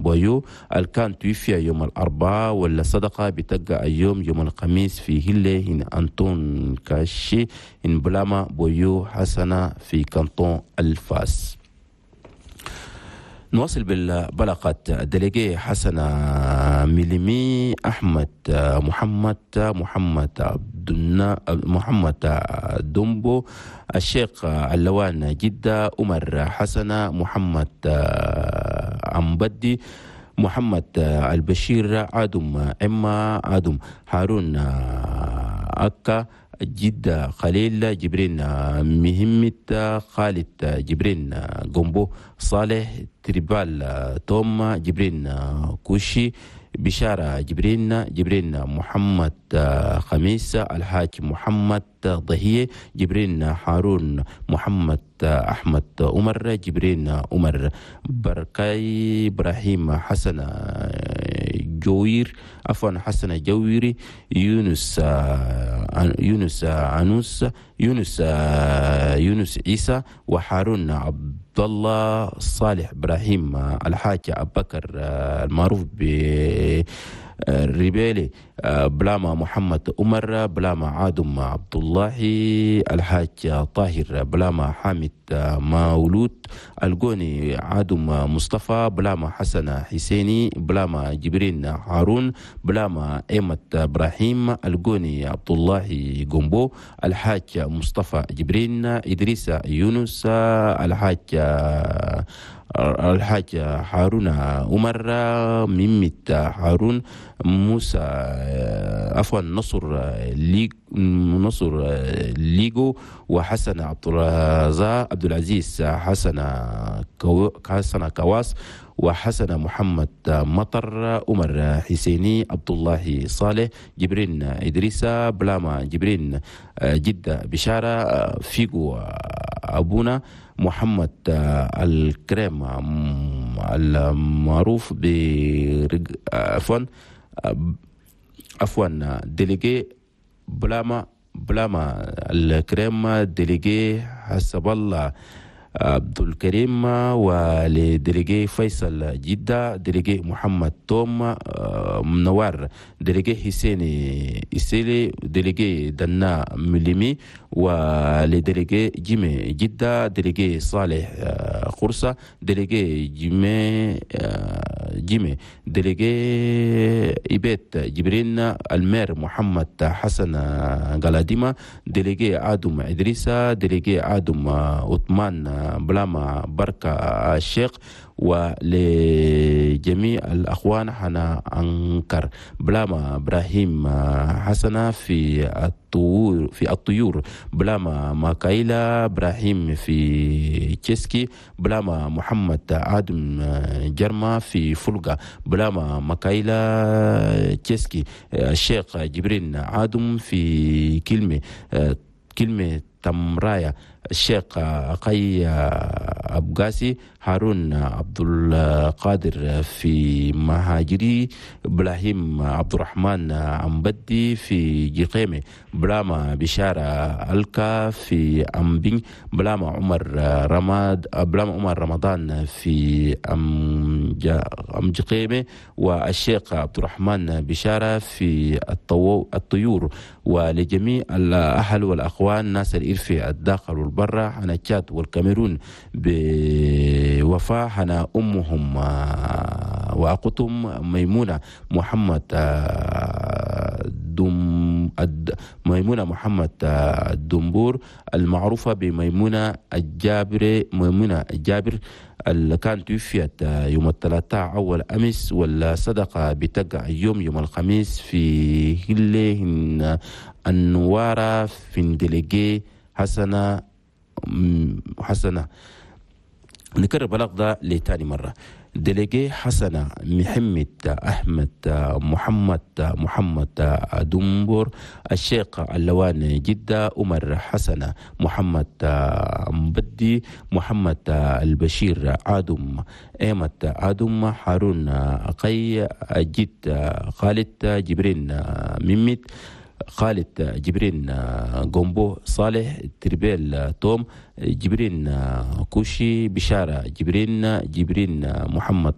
بويو الكان توفي يوم الأربعاء، ولا صدقة بتلقى اليوم يوم الخميس في هلة هنا أنطون كاشي إن بلاما بويو حسنة في كانتون الفاس. نواصل بالبلاغات. délégué حسن ميليمي، أحمد محمد، محمد عبد، محمد دومبو، الشيخ اللوان جدة، عمر حسن، محمد عمبدي، محمد البشير، آدم إما آدم، هارون أكا، جدة خليل، جبرين مهمت، خالد جبرين جومبو، صالح تريبال توم، جبرين كوشي، بشارة جبرين، جبرين محمد خميس، الحاج محمد ضهية، جبرين هارون، محمد أحمد عمر، جبرين عمر بركاي، إبراهيم حسن جوير، عفوا حسن جويري، يونس يونس عنوس، يونس يونس عيسى، وحارون عبد الله صالح، ابراهيم الحاج ابو بكر المعروف ب الربيلي، بلاما محمد عمر، بلاما عادم عبد الله، الحاج طاهر، بلاما حامد مولود، الجوني عادم مصطفى، بلاما حسن حسيني، بلاما جبرين هارون، بلاما ايمت ابراهيم، الجوني عبد الله جومبو، الحاج مصطفى جبرين، ادريس يونس، الحاج هارون عمر، ميمت هارون، موسى عفوا نصر ليج نصر ليجو، وحسن عبد الرزاق عبد العزيز، حسن كواس، وحسن محمد مطر، عمر حسيني، عبد الله صالح، جبرين إدريس، بلاما جبرين جدة بشارة، فيجو أبونا، محمد الكريم المعروف ب عفوا délégué بلاما الكريم، délégué حسب الله عبد الكريم، و le délégué فيصل جدة، délégué محمد توم منوار، délégué حسيني إسيلي، délégué دنا مليمي، و le délégué جيمي جدة، délégué صالح خرصة، délégué جيمي، délégué إبيت جبرين، ال maire محمد حسن غلاديما، délégué آدم إدريسا، délégué آدم عثمان، بلاما بركة الشيخ، ولجميع الأخوان حنا أنكر، بلاما إبراهيم حسنة في الطيور، بلاما ماكايلا إبراهيم في تشيسكي، بلاما محمد آدم جرما في فلقة، بلاما ماكايلا تشيسكي، الشيخ جبرين آدم في كلمة تمرايا، الشيخ قي أبقاسي، هارون عبد القادر في مهاجري، إبراهيم عبد الرحمن عمبدي في جقيمة، بلاما بشارة ألكا في أمبين، بلاما عمر رماد، بلاما عمر رمضان في أم جقيمة، والشيخ عبد الرحمن بشارة في الطيور، ولجميع الأهل والأخوان ناس الإرفي الداخل والبرة، حنا تشاد والكاميرون بوفاء حنا أمهم وأخوتهم ميمونة محمد دم ميمونة محمد الدنبور المعروفة بميمونة الجابر، ميمونة الجابر اللي كانت توفيت يوم الثلاثاء أول أمس، والصدقة بتقع يوم يوم الخميس في هلة النوارة في délégué حسنة حسنة. نكرر بلاغ ده لتاني مرة. délégué حسنة محمد أحمد محمد محمد دنبور، الشيخ اللوان جدة، عمر حسن محمد مبدي، محمد البشير آدم، ايمت آدم، هارون قي، جد خالد جبرين ميمت، خالد جبرين جومبو، صالح تربيل توم، جبرين كوشي، بشارة جبرين، جبرين محمد.